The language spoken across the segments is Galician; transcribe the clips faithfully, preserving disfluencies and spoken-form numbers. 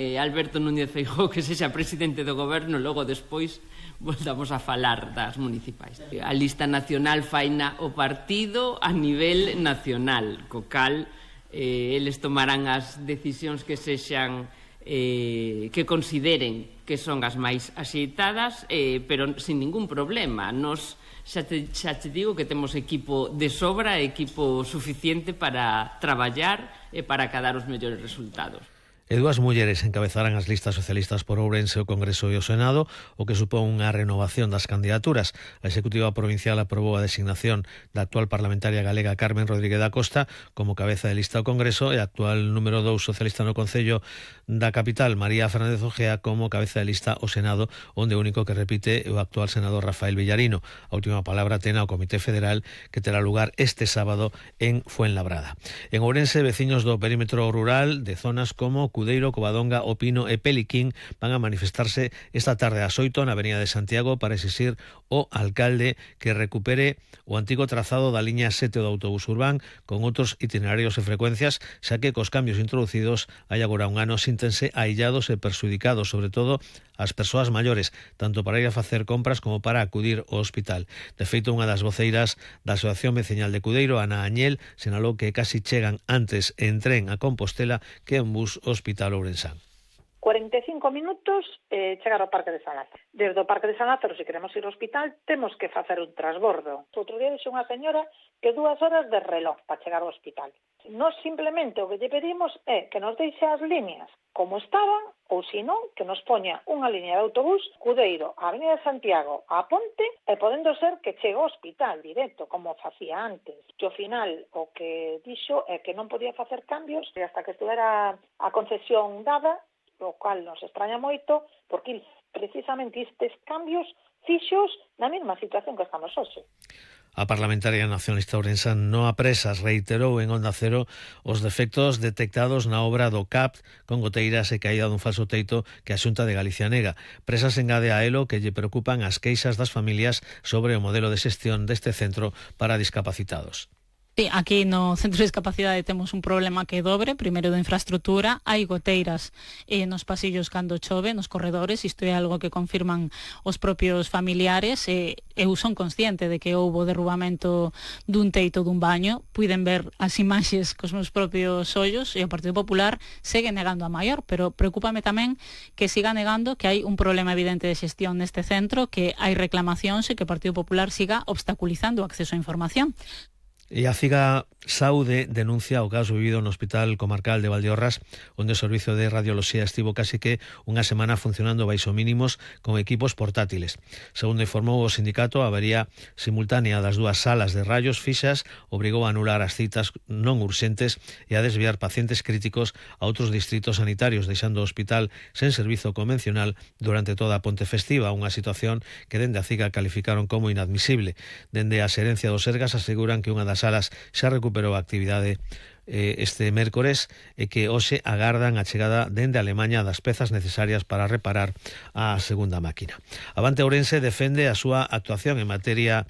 Eh, Alberto Núñez Feijóo que sexa presidente do goberno, logo despois voltamos a falar das municipais. A lista nacional faina o partido a nivel nacional, co cal eh, eles tomarán as decisións que sexan eh, que consideren que son as máis axeitadas, eh, pero sin ningún problema. Nos xa te, xa te digo que temos equipo de sobra, equipo suficiente para traballar e para acadar os mellores resultados. E dúas mulleres encabezarán as listas socialistas por Ourense, o Congreso e o Senado, o que supón unha renovación das candidaturas. A Executiva Provincial aprobou a designación da actual parlamentaria galega Carmen Rodríguez da Costa como cabeza de lista ao Congreso e a actual número dous socialista no Concello da capital, María Fernández Ojea, como cabeza de lista ao Senado, onde o único que repite é o actual senador Rafael Villarino. A última palabra ten ao Comité Federal, que terá lugar este sábado en Fuenlabrada. En Ourense, veciños do perímetro rural de zonas como Cudeiro, Covadonga, O Pino e Peliquín van a manifestarse esta tarde ás oito na Avenida de Santiago para exixir ao alcalde que recupere o antigo trazado da liña sete do autobús urbán con outros itinerarios e frecuencias, xa que cos cambios introducidos hai agora un ano síntense aillados e perxudicados, sobre todo as persoas maiores, tanto para ir a facer compras como para acudir ao hospital. De feito, unha das voceiras da Asociación Veciñal de Cudeiro, Ana Añel, sinalou que casi chegan antes en tren a Compostela que en bus ao Hospital Ourensán. cuarenta e cinco minutos eh, chegar ao Parque de San Lázaro. Desde o Parque de San Lázaro, se queremos ir ao hospital, temos que facer un transbordo. Outro día dixe unha señora que dúas horas de reloj para chegar ao hospital. Nós simplemente o que lle pedimos é que nos deixe as líneas como estaban, ou se non, que nos poña unha liña de autobús Cudeiro, a Avenida de Santiago, a Ponte, e podendo ser que chegue ao hospital directo, como facía antes. E ao final, o que dixo é que non podía facer cambios e hasta que estuvera a concesión dada, o cual nos extraña moito, porque precisamente estes cambios fixos na mesma situación que estamos hoxe. A parlamentaria nacionalista ourensán Noa Presas reiterou en Onda Cero os defectos detectados na obra do C A P con goteiras e caída dun falso teito que a Xunta de Galicia nega. Presas engade a elo que lle preocupan as queixas das familias sobre o modelo de xestión deste centro para discapacitados. Sí, aquí no Centro de Discapacidade temos un problema que é dobre, primeiro de infraestructura, hai goteiras eh, nos pasillos cando chove, nos corredores, isto é algo que confirman os propios familiares, e eh, eu son consciente de que houbo derrubamento dun teito dun baño, puiden ver as imaxes cos meus propios ollos, e o Partido Popular segue negando a maior, pero preocúpame tamén que siga negando que hai un problema evidente de xestión neste centro, que hai reclamacións e que o Partido Popular siga obstaculizando o acceso á información. E a Figa Saúde denuncia o caso vivido no Hospital Comarcal de Valdeorras, onde o servizo de radioloxía estivo casi que unha semana funcionando baixo mínimos con equipos portátiles. Segundo informou o sindicato, a avería simultánea das dúas salas de rayos fixas obrigou a anular as citas non urxentes e a desviar pacientes críticos a outros distritos sanitarios, deixando o hospital sen servizo convencional durante toda a ponte festiva, unha situación que dende a Figa calificaron como inadmisible. Dende a xerencia do Sergas aseguran que unha das salas xa recuperou a actividade eh, este mércores e que hoxe agardan a chegada dende Alemaña das pezas necesarias para reparar a segunda máquina. Avante Ourense defende a súa actuación en materia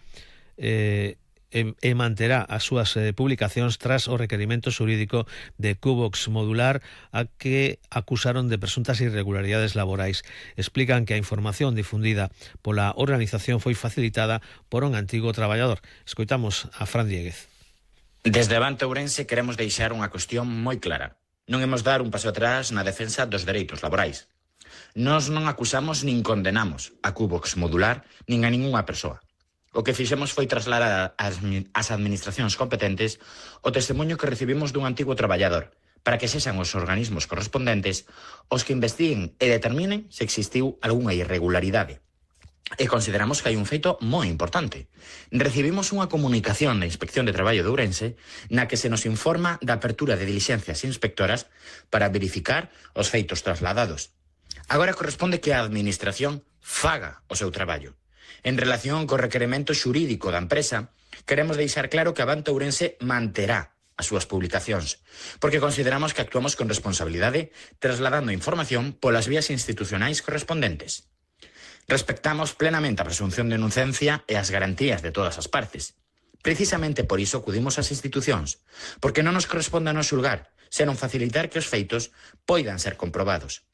eh, e, e manterá as súas eh, publicacións tras o requerimento xurídico de Cubox Modular a que acusaron de presuntas irregularidades laborais. Explican que a información difundida pola organización foi facilitada por un antigo traballador. Escoitamos a Fran Dieguez. Desde Avante Ourense queremos deixar unha cuestión moi clara. Non imos dar un paso atrás na defensa dos dereitos laborais. Nós non acusamos nin condenamos a Cubox Modular nin a ningunha persoa. O que fixemos foi trasladar ás administracións competentes o testemunho que recibimos dun antigo traballador para que sexan os organismos correspondentes os que investiguen e determinen se existiu algunha irregularidade. E consideramos que hai un feito moi importante. Recibimos unha comunicación da Inspección de Traballo de Ourense na que se nos informa da apertura de diligencias inspectoras para verificar os feitos trasladados. Agora corresponde que a Administración faga o seu traballo. En relación co requerimento xurídico da empresa, queremos deixar claro que Avante Ourense manterá as súas publicacións, porque consideramos que actuamos con responsabilidade trasladando información polas vías institucionais correspondentes. Respectamos plenamente a presunción de inocencia e as garantías de todas as partes. Precisamente por iso acudimos ás institucións, porque non nos corresponde a nos xulgar, senón facilitar que os feitos poidan ser comprobados.